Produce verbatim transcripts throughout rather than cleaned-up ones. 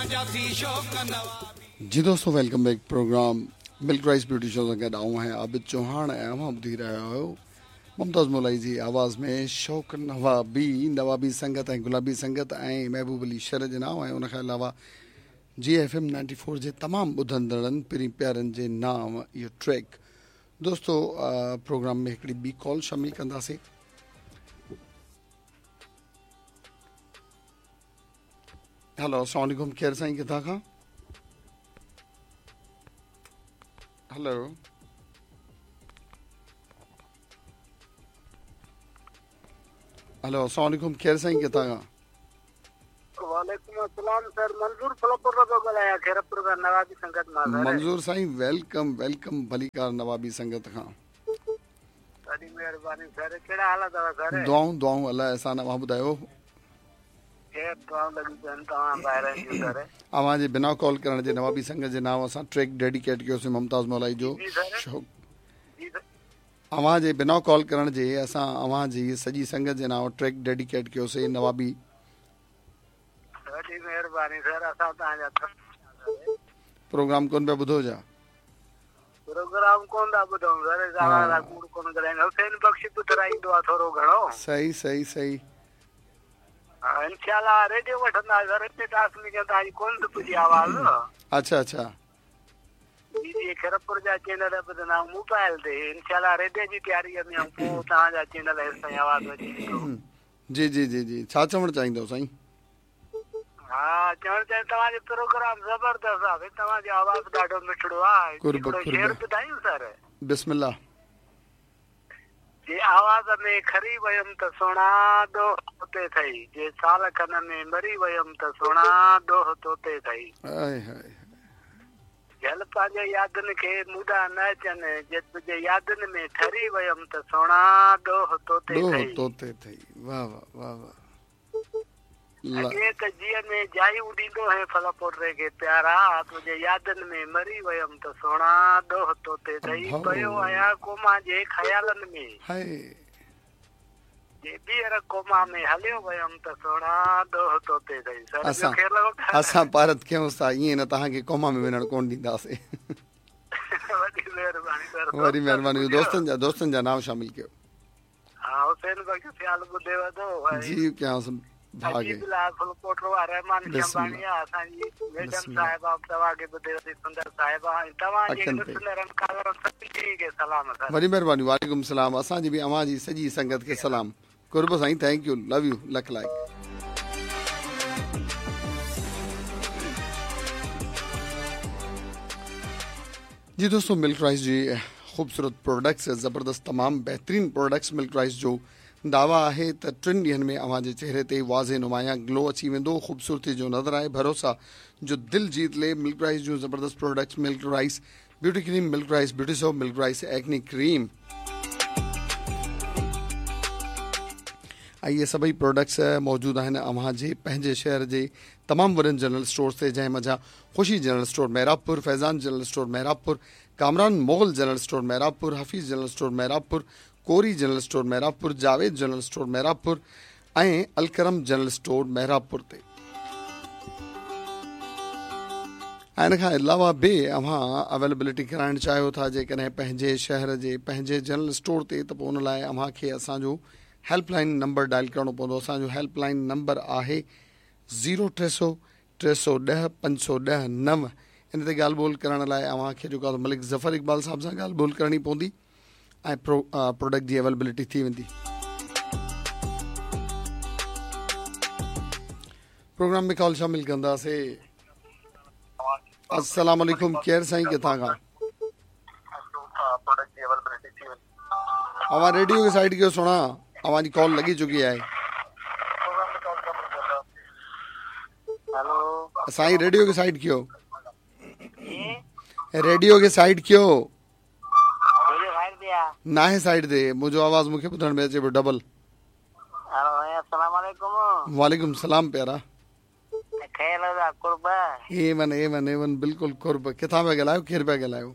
जी दोस्तों, welcome back. Programme Milk Rice Beauty Show सां गॾु आउं आहियां आबिद चौहान ऐं अव्हां ॿुधी रहिया आहियो मुमताज़ मौलाई जी आवाज़ में शौक नवाबी, नवाबी संगत ऐं गुलाबी संगत ऐं महबूब अली शर जे नाम ऐं उन खां अलावा G F M ninety four जे तमामु ॿुधंदड़नि पिरीं प्यारनि जे नाम इहो ट्रैक। दोस्तो, प्रोग्राम में हिकिड़ी ॿी कॉल शामिल कंदासीं। हेलो, अस्सलाम वालेकुम। केरु साईं, किथां खां? हेलो हेलो, अस्सलाम वालेकुम। केरु साईं, किथां खां? वालेकुम अस्सलाम सर, मंजूर फलपुर थो ॻाल्हायां, खैरपुर खां, नवाबी संगत मां। मंजूर साईं, welcome welcome, भलीकार नवाबी संगत खां। वॾी महिरबानी सर, कहिड़ा हाल अथव सर? दुआऊं दुआऊं, अलाह एहसान। अव्हां ॿुधायो? अव्हां जे बिना कॉल करण जे नवाबी संगत जे नाम असां ट्रैक डेडिकेट कयोसीं मुमताज़ मौलाई जो। अव्हां जे बिना कॉल करण जे असां अव्हां जी सॼी संगत जे नाम ट्रैक डेडिकेट कयोसीं नवाबी। वॾी महिरबानी सर, असां तव्हांजा प्रोग्राम कोन पिया ॿुधो छा? प्रोग्राम कोन था ॿुधूं सर, कूड़ कोन ॻाल्हाइनि। हुसैन बख्श ॿुधाईंदो आहे थोरो घणो। सही सही सही। इंशाअल्लाह रेडियो वठंदा सर, हिते टास्क में तव्हांजी कोन थी पुॼी आवाज़। अच्छा अच्छा। जी जी, खैरपुर जा चैनल ॿुधंदा आहियूं मोबाइल ते। इंशाअल्लाह रेडियो जी तयारी में आहियूं, पोइ तव्हांजा चैनल ताईं आवाज़ अची वेंदो। जी जी जी जी, छा चवणु चाहींदो साईं? हा, चवणु चाहीं तव्हांजो प्रोग्राम ज़बरदस्त आहे, तव्हांजो आवाज़ ॾाढो मिठड़ो आहे। शेर ॿुधायूं सर? बिस्मिल्लाह। जे आवाज़ में खरी वयमि त सोणा ॾोह तोते थई, जे साल खन में मरी वयमि त सोणा ॾोह तोते थई। झल पंहिंजे यादुनि खे मूंॾा न अचनि, जे तुंहिंजे यादुनि में ठरी वयमि त सोणा ॾोह तोते थई। तोते थई। वाह वाह वाह वाह। अॻे त जीअ में जायूं ॾींदो है फल पोटरे खे प्यारा, तुंहिंजे यादुनि में मरी वयमि त सोणा ॾोह तोते थई। पियो आहियां कोमा जे ख़यालनि में, जे ॿीहर कोमा में हलियो वयमि त सोणा ॾोह तोते थई। असां असां पारत कयूं था, ईअं न तव्हांखे कोमा में वञणु कोन ॾींदासीं। वॾी महिरबानी सर, वॾी महिरबानी। दोस्तनि जा दोस्तनि जा नाम शामिल कयो। हा, हुसैन बख्श सियाल ॿुधे वधो जी, कयांसि भागे वॾी महिरबानी। वालेकुम सलाम। असांजी बि अव्हां जी सॼी संगत खे सलाम। कुर्ब साईं, thank you, love you, lakh like. जी दोस्तों, मिल्क राइस जी ख़ूबसूरत प्रोडक्ट्स, ज़बरदस्त तमामु बहितरीन प्रोडक्ट्स मिल्क राइस जो दावा आहे त टिनि ॾींहनि में अव्हां जे चेहरे ते वाज़े नुमायां ग्लो अची वेंदो, ख़ूबसूरती जो नज़र आहे, भरोसा जो दिल जीत ले। मिल्क राइस जूं ज़बरदस्त products, Milk Rice beauty cream, Milk Rice beauty soap, Milk Rice acne cream ऐं इहे सभई प्रोडक्ट्स मौजूदु आहिनि अव्हां जे पंहिंजे शहर जे तमामु वॾनि जनरल स्टोर्स ते, जंहिं मंझां Khushi general store Mehrabpur, Faizan general store Mehrabpur, Kamran Mughal general store Mehrabpur, Hafeez general store Mehrabpur, Kori general store Mehrabpur, Javed general store Mehrabpur ऐं अलकरम जनरल स्टोर मेहराबपुर ते। ऐं इन खां अलावा बि अव्हां अवेलेबिलिटी कराइणु चाहियो था जेकॾहिं पंहिंजे शहर जे पंहिंजे जनरल स्टोर ते, त पोइ उन लाइ अव्हांखे असांजो हेल्पलाइन नंबर डायल करिणो पवंदो। असांजो हेल्पलाइन नंबर आहे ज़ीरो टे सौ टे सौ ॾह पंज सौ ॾह नव। इन ते ॻाल्हि ॿोल करण लाइ अव्हांखे जेको आहे मलिक ज़फ़र इक़बाल साहिब सां ॻाल्हि ॿोल करणी पवंदी ऐं प्रो प्रोडक्ट जी अवेलेबिलिटी थी वेंदी। प्रोग्राम में कॉल शामिल कंदासीं। अस्सलाम वालेकुम। केरु साईं, किथां खां? अव्हां रेडियो खे साइड कयो सुणा, अव्हांजी कॉल लॻी चुकी आहे। साईं रेडियो खे साइड कयो, रेडियो खे साइड कयो। नाहे साइड ते, मुंहिंजो आवाज़ मूंखे ॿुधण में अचे पियो डबल। वालेकुम सलाम प्यारा। A one A one A one, बिल्कुल कुर्ब। किथां पिया ॻाल्हायो, केरु पिया ॻाल्हायो?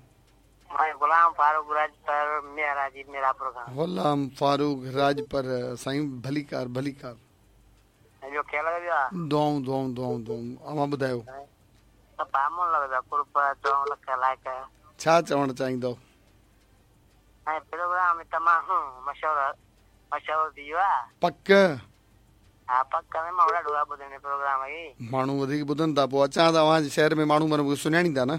गुलाम फारूक राजपर, मेहराजी मेरापुर खां। गुलाम फारूक राजपर साईं, भलीकार भलीकार। दुआऊं दुआऊं दुआऊं दुआऊं। अव्हां ॿुधायो? सफ़ा मोन लॻो पियो कुर्ब चवण लख लाइक़। छा चवणु चाहींदो? ऐं प्रोग्राम तमामु मशहूरु मशहूरु थी वियो आहे। पक? हा पक में माण्हू ॾाढो आहे ॿुधण प्रोग्राम खे। माण्हू वधीक ॿुधनि था, पोइ अचां त अव्हांजे शहर में माण्हू माना सुञाणींदा न?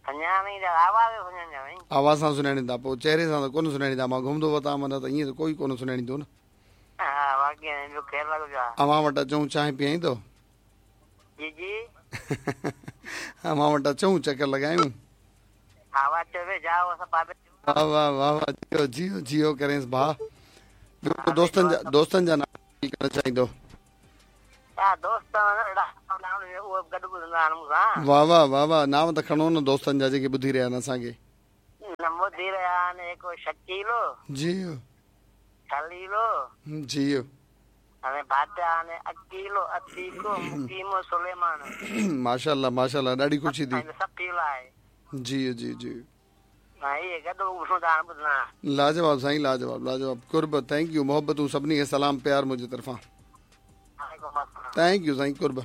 सुञाणींदा, आवाज़ सुञाणींदा। आवाज़ सां सुञाणींदा, पोइ चहिरे सां त कोन सुञाणींदा। मां घुमंदो वतां माना त ईअं त कोई कोन सुञाणींदो न। हा बाक़ी ॿियो ख़ैर लॻो पियो आहे। अव्हां वटि अचूं, चांहि पीआईंदो? जी जी। अव्हां वटि अचूं, चकर लॻायूं? हा वाह वाह वाह वाह, जियो जियो जियो करेंसि भाउ। ॿियो दोस्तनि जा दोस्तनि जा नाम करणु चाहींदो? वाह वाह वाह वाह, नाम त खणो न दोस्तनि जा जेके ॿुधी रहिया आहिनि असांखे। ॿुधी रहिया आहिनि हिकु शकीलो जी खलीलो जी अकीलो अतीको मुकीमो सुलेमान। माशाअल्लाह माशाअल्लाह, ॾाढी ख़ुशी थी। जी जी जी लाजवाब साईं, लाजवाब लाजवाब। कुर्ब, thank you, मोहब्बतूं सभिनी खे सलाम प्यार मुंहिंजी तरफ़ां। Thank you Sain, Qurb.